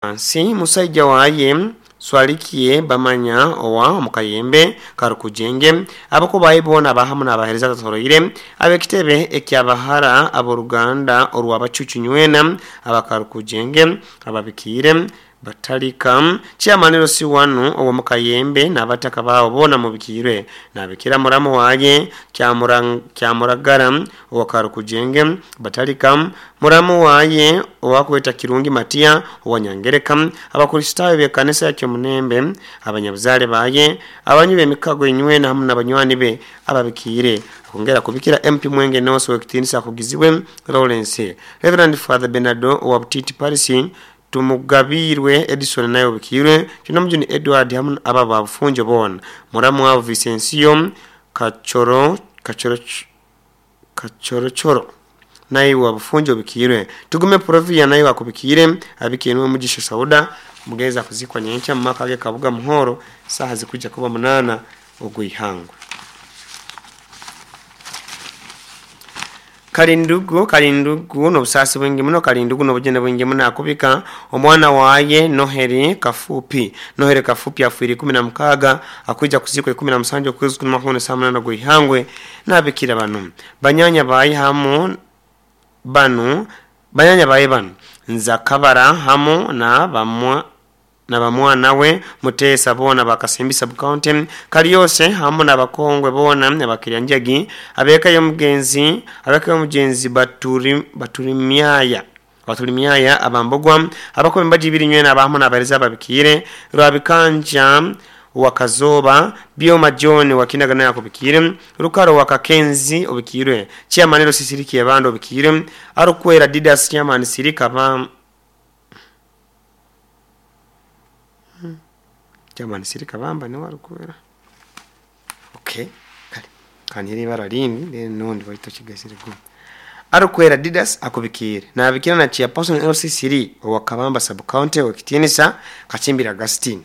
Hansi musaija waye Swalikie Bamanya owa omukayembe Karukujenge, abakubaye boona abahamu n'abaheereza atatoroire, ab'ekitebe eky'abahara ab'oruganda orw'Abacucu nywena aba Karukujenge ababikiire Batalika, Chairman LC1 ow'omukayembe n'abataka baabo boona mubikiirwe. Nabikira muramu waye Kyamuragara owa Karukujenge Batalika, muramu waye owakweta Kirungi Matia owa Nyangereka, Abakristaayo b'ekanisa ya Kyomunembe, abanyabuzaale baye, abanywi b'emikago inywena hamu n'abanywani be ababikiire. Akwongera kubikira MP Mwenge North ow'ekitiinisa akugizibwe Lawrence. Reverend Father Bernardo owa Butiti Parish, Tumugabiirwe Edison naye obikiirwe, Kyonomujuni Edward hamu abo aba Bufunjo boona. Muramu wabo Vicencio Kachoro Kachoro Kachorochoro naye wa Bufunjo obikiirwe. Tugume Provia naye akubikiire, abikiire niwe Mugisha Sauda, omugenzi akuzikwa nyenkya mu maka ge Kabuga Muhoro, saaha zikwija kuba 8 ogw'eihangwe. Kalindugu Kalindugu n'obusaasi bwingi muno, Kalindugu n'obujune bwingi muno akubika omwana waye Noheri Kafupi. Noheri Kafupi afiire 16 akwija kuzikwa 17 okwezi kuno makumi saa 8 ogw'eihangwe. N'abikira banu banyanya baye hamu banu banyanya baye banu Nzakabara hamu na bamwa na bamwana we Mutesa boona bakasimbi sub-county Kaliose hamu n'abakongwe boona abakiryanjagi abeka y'omugenzi abeka y'omugenzi Baturimyaya Baturimyaya abambogwa abakuba embaji ibiri nywena abahamu n'abahereza ababikiire Rwabikanja Wakazoba Byoma John Wakinaga naye akubikiire Rukaro Wakakenzi obikiirwe Chairman Rosisiriki Ebanda obikiirwe Arukwera Didas Chairman Sirika ba Chairman Sirika Bamba niwe arukwera. Okay, kale kanyere ibara rindi then nundi baitu kigasire gu Arukwera Didas akubikiire nabikira na chairperson LC3 owa Kabamba sub county ow'ekitiinisa Kachimbira Augustine,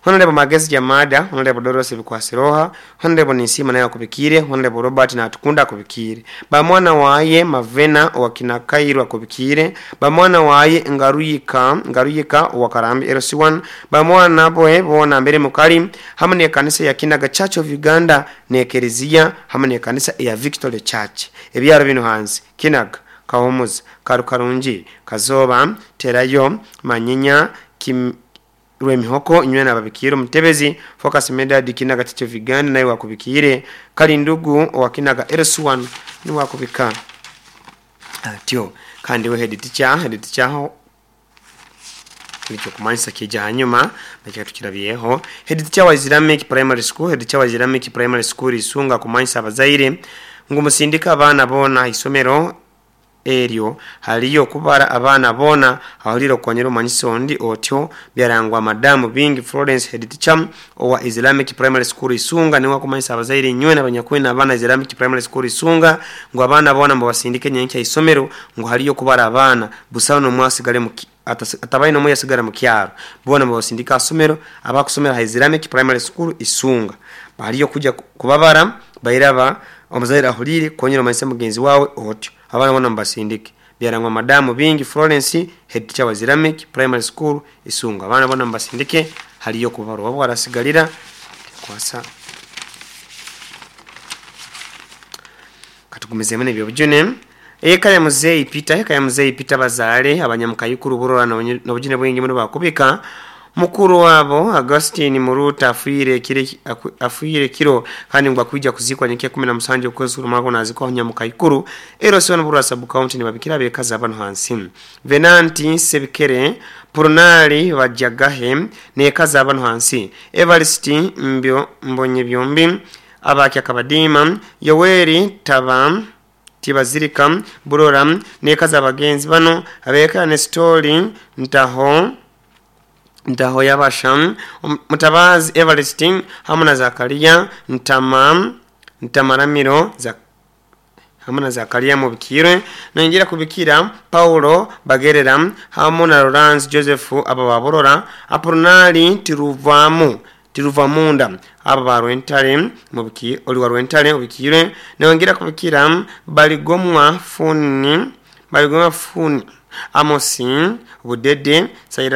Honorable Magezi Jamada, Honorable Doros Bikwasiroha, Honorable Ninsima naye akubikiire, Honorable Robert Natukunda akubikiire, bamwana waye Mavena owa Kinakairu akubikiire, bamwana waye Ngaruyika Ngaruyika owa Karambi LC1, bamwana boe boona mbere mukali hamwe n'ekanisa ya Kinaga Church of Uganda n'ekereziya hamwe n'ekanisa eya Victory Church. Ebyaro bino hansi Kinaga, Kahumuza, Karukarungi, Kazoba, Terayo, Manyinya, Kim Rwemihoko inywena ababikiire. Omutebezi Focus Medard Kinaga Church of Uganda naye wakubikiire. Kalindugu owa Kinaga LC1 niwe akubika atyo, kandi we head teacher nikyo kumanyisa kija hanyuma nakyo tukirabyeho. Head teacher wa Islamic Primary School, head teacher wa Islamic Primary School Isunga kumanyisa abazaire ngu musindika abaana boona isomero eryo haliyo kubara abaana boona ahulire okukonyera omanyisa ondi otyo. Byarangwa madamu Bingi Florence, head teacher owa Islamic Primary School Isunga, niwe akumanyisa abazaire nywena abanyakwina abaana Islamic Primary School Isunga ngu abaana boona mubasindike nyenkya isomero ngu haliyo kubara abaana, busaho n'omwe asigale mu atabaye n'omwe yasigara mu kyaro, boona mubasindika asomero abakusomera ha Islamic Primary School Isunga baliyo kuja kubabara bairaba. Omuzaire ahulire konyera omanyisa mugenzi wawe otyo, abaana boona mubasindike. Byarangwa madamu Bingi Florence, head teacher wa Islamic Primary School Isunga, abaana boona mubasindike haliyo kubarwa wabo arasigalira kwasa. Katugumizemu n'ebyobujune. Eka ya muzeyi Peter, eka ya muzeyi Peter bazale abanyamukayukuru burora n'obujune bwingi muno bakubika mukuru wabo Augustine Muruta afiire kire afiire kiro kandi ngo akwija kuzikwa nyenkya 17 okwezi rumako nazikwa nyamukayukuru ero siona burwa sub county nibabikira bekaza abantu hansi Venanti Sebikere Purunali Bajagahe nekaza abantu hansi Evarist Mbyo Mbonye byombi abakya Kabadima Yoweri Taba Tibazirika Burora nekaza abagenzi bano abeka Nestori Ntaho Ntaho yabasha Mutabazi Everest hamwe na Zakaria Ntama Ntamaramiro za hamwe na Zakaria mubikirwe. Nongera kubikira Paulo Bagerera hamwe na Lawrence Joseph aba baborora Apronali Tiruvamu Tiruvamunda aba barwentale mubiki oli wa rwentale ubikirwe. Nongera kubikira Baligomwa Funi Baligomwa Funi Amosi Budede, Silas.